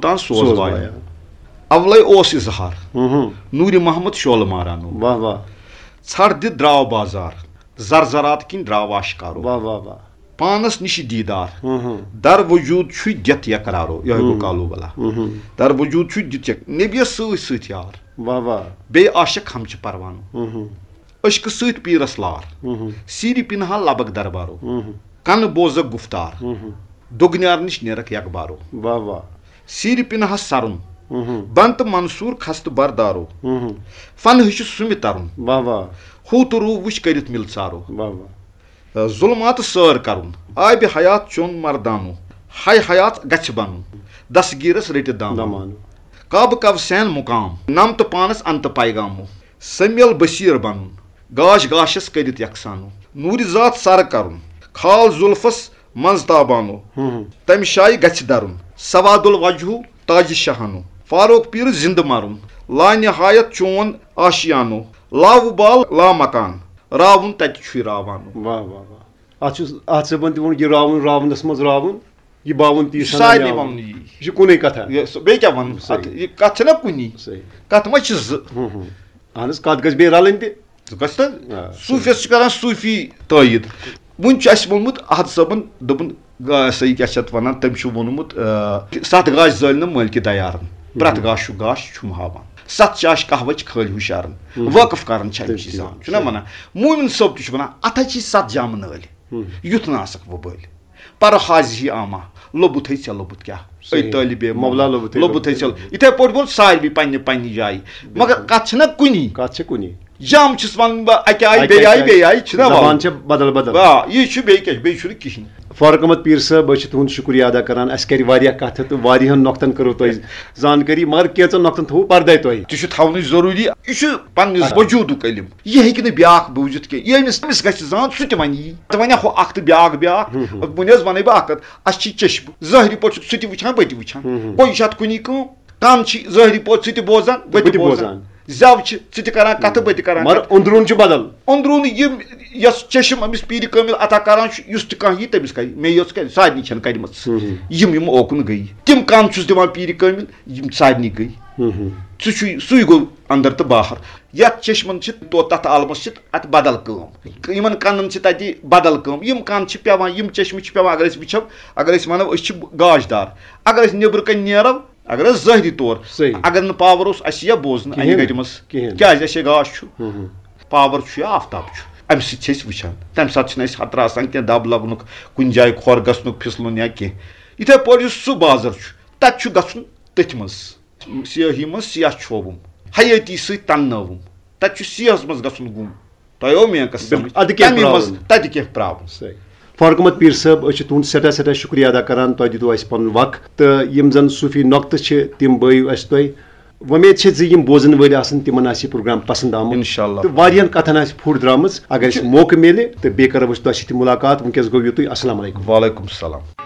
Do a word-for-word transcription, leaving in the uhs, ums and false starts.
تان سوز سوز وایان۔ وایان۔ اولے اوس اظہار، ہُم ہُم۔ نوٗرِ محمد شولہٕ مارانو۔ واہ واہ۔ ژھر دِتھ درٛاو بازار، زر زرات کِنۍ درٛاو آشکارو۔ واہ واہ واہ۔ پانس نِش دیٖدار، ہُم ہُم۔ در وجوٗد چھُے دِتھ یقرارو۔ یِہوٚے گوٚو ہُم۔ کالوٗ بلا۔ ہُم ہُم۔ در وجوٗد چھُے دِتھ یک-، نبیَس سۭتۍ سۭتۍ یار۔ واہ واہ۔ بیٚیہِ عاشق ہمچہِ پروانو۔ ہُم ہُم۔ عشقہٕ سۭتۍ پیٖرس لار، ہُم ہُم۔ سیٖرِ پِنہا لبک دربارو۔ ہُم ہُم۔ کنہٕ بوزکھ گُفتار، ہُم ہُم۔ دوٚگنیار نِش نیرکھ یکبارو۔ واہ واہ۔ سیٖرِ پِنہس سرُن، ہُم ہُم۔ بنتہٕ منصوٗر خستہٕ بردارو۔ ہُم ہُم۔ فن ہیٚچھِ سُمہِ ترُن، واہ واہ۔ ہوٗ تہٕ روٗ وٕچھ کٔرِتھ مِلژارو۔ واہ واہ۔ ظُلماتہٕ سٲر کرُن، آبِ حیات چوٚن مردانو۔ ہاے حیات گژھِ بنُن، دستگیٖرس رٔٹِتھ دامانو۔ دامانو۔ کعبہٕ کف سین مُقام، نم تہٕ پانس انتہٕ پیغامو۔ سمیل بصیٖر بنُن، گاش گاشس کٔرِتھ یکسانو۔ نوٗرِ ذات سر کرُن، خال زُلفس منٛز تابانو۔ ہُم ہُم۔ تمہِ شایہِ گژھِ درُن، سواد الوجہو تاجِ شاہانو۔ فاروق پیٖرٕ زِندٕ مرُن، لا نہایت چون آشیانو۔ لا وُبال لا مکان، راوُن تتہِ چھُے راوانو۔ واہ واہ واہ۔ اتھ چھُ، اتھ صٲبن تہِ ووٚن، یہِ راوُن، راونس منٛز راوُن، یہِ باوُن تی یہِ چھُ سنان سارنٕے یاوُن۔ ونُن یی۔ یہِ چھُ کُنے کتھا۔ یہِ سُہ بیٚیہِ کیٛاہ ونُن؟ صحیح۔ اتھ، یہِ کتھ چھَنا کُنی۔ صحیح۔ کتھ ما چھِ زٕ؟ ہُم ہُم۔ اہن حظ، کتھ گژھِ بیٚیہِ رلٕنۍ تہِ۔ ژٕ گژھ تہٕ آ، صوٗفیس چھُ کران صوٗفی تٲیید۔ وُنہِ چھُ اَسہِ ووٚنمُت احد صٲبن، دوٚپُن، گا-، سا یہِ کیٛاہ چھِ اتھ ونان، تٔمۍ چھُ ووٚنمُت، آ، ستھ گاش زٲلۍ نہٕ مٲلکہِ دیارن۔ پرٛٮ۪تھ گاش چھُ گاش چھُم ہاوان۔ ستھ چاش قہوٕچ خٲلۍ ہُشارن۔ ہُم۔ وٲقف کران چھِ اَمہِ تٔمۍ چیٖز چھِ زان۔ چھُنہ وَنان؟ مومِن صٲب تہِ چھُ وَنان، اَتھ ہا چھِ ستھ جامہٕ نٲلۍ۔ ہُم۔ یُتھ نہٕ آسکھ وۄبٲلۍ۔ پر حاضی آما، لوٚبُتھٕے ژےٚ لوٚبُت کیٛاہ؟ صحیح۔ أے طٲلبِ مولا لوٚبُتھٕے یِتھَے پٲٹھۍ ووٚن سارِوٕے پنٛنہِ پنٛنہِ جایہِ۔ مگر کَتھ چھِنہ کُنی۔ کَتھ چھِ کُنی۔ جامہٕ چھُس وَنان بہٕ اَکہِ آیہِ، اَکہِ بیٚیہِ آیہِ، آیہِ، بیٚیہِ آیہِ، چھِنہ زبان وَنُن؟ چھےٚ بدل بدل۔ آ، یہِ چھُ بیٚیہِ کیٛاہ، بیٚیہِ چھُنہٕ کِہیٖنۍ۔ فاروق احمد پیٖر صٲب، أسۍ چھِ تُہُنٛد شُکریہ ادا کران۔ اَسہِ کَرِ واریاہ کَتھٕ تہٕ واریاہَن نۄقطن کٔرٕو تۄہہِ زانکٲری، مگر کینٛژن نۄقطن تھوٚوُ پردے تۄہہِ۔ تہِ چھُ تھاونٕچ ضروٗری، یہِ چھُ پننِس آ۔ وجوٗدُک علم۔ یہِ ہیٚکہِ نہٕ بیٛاکھ بوٗزِتھ کینٛہہ۔ ییٚمِس، أمِس گژھِ زان، سُہ تہِ وَنہِ یی۔ تہٕ وۄنۍ ہُہ اکھ تہٕ بیٛاکھ بیٛاکھ۔ ہُم، ہُم۔ وۄنۍ حظ وَنَے بہٕ اکھ کَتھ، اَسہِ چھِ چشمہٕ۔ ظٲہری پٲٹھۍ چھُ سُہ تہِ وٕچھان، بہٕ تہِ وٕچھان۔ ہُم، ہُم۔ گوٚو یہِ چھِ اَتھ کُنی کٲم۔ کَن چھِ ظٲہری پٲٹھۍ سُہ تہِ بوزان، بہٕ بہٕ تہِ تہِ بوزان۔ بوزان۔ زٮ۪و چھِ، ژٕ تہِ کران کَتھٕ، بہٕ تہِ کران مگر کَتھٕ۔ أنٛدروٗن چھُ بدل۔ أنٛدروٗن یِم، یۄس چشم أمِس پیٖرِ کٲمِل عطا کران چھُ، یُس تہِ کانٛہہ یی، تٔمِس کرِ۔ مے یٲژ کَرِ، سارنٕے چھَنہٕ کَرِمَژ۔ ہُم، ہُم۔ یِم، یِم اوکُن گٔیہِ۔ تِم کَن چھُس دِوان پیٖرِ کٲمِل، یِم سارنٕے گٔیہِ۔ ہُم، ہُم۔ سُہ چھُ، سُے گوٚو اندر تہٕ باہر۔ یتھ چشمن چھِ تو-، تتھ عالمس چھِ اتھ بدل کٲم۔ یِمن کنن چھِ تتہِ بدل کٲم۔ یِم کن چھِ پٮ۪وان، یِم چشمہٕ چھِ پٮ۪وان، اگر أسۍ وٕچھو، اگر أسۍ ونو، أسۍ چھِ گاش دار۔ اگر أسۍ نیبرٕ کنۍ نیرو، اگر أسۍ ظٲہری طور، صحیح۔ اگر نہٕ پاور اوس، اسہِ یی ہا بوزنہٕ انہِ کِہیٖنۍ۔ گٹہِ منٛز۔ کِہیٖنۍ۔ کیازِ؟ اسہِ ہے گاش چھُ۔ ہُم، ہُم۔ پاور چھُ یا آفتاب چھُ، امہِ سۭتۍ چھِ أسۍ وٕچھان۔ تمہِ ساتہٕ چھِنہٕ اسہِ خطرٕ آسان کینٛہہ، دب لگنُک، کُنہِ جایہِ کھۄر گژھنُک، پھسلُن یا کینٛہہ۔ یِتھے پٲٹھۍ یُس سُہ بازر چھُ، تتہِ چھُ گژھُن تٔتھۍ منٛز۔ سیاہی منٛز سیاہ چھووُم، حیٲتی سۭتۍ تننٲوُم۔ تتہِ چھُ سیاہس منٛز گژھُن گُم۔ تۄہہِ آو میٲنۍ کتھ بِلکُل، سمجھ؟ ادٕ کینٛہہ تمی منٛز پراوُن۔ تتہِ کینٛہہ پراوُن۔ صحیح۔ فاروق احمد پیٖر صٲب، أسۍ چھِ تُہُنٛد سٮ۪ٹھاہ سٮ۪ٹھاہ شُکریہ ادا کران، تۄہہِ دِتوُ اَسہِ پنُن وقت تہٕ یِم زن صوٗفی نۄقطہٕ چھِ، تِم بٲیِو اَسہِ تۄہہِ۔ وۄمید چھِ زِ یِم بوزن وٲلۍ آسن، تِمن آسہِ یہِ پروگرام پسنٛد آمُت۔ انشاءاللہ۔ تہٕ واریاہن کتھن آسہِ پھُٹ درٛامٕژ۔ اگر اَسہِ موقعہٕ میلہِ تہٕ بیٚیہِ کرو أسۍ تۄہہِ سۭتۍ مُلاقات۔ وٕنکیٚس گوٚو یُتُے۔ السلام علیکم۔ وعلیکم السلام۔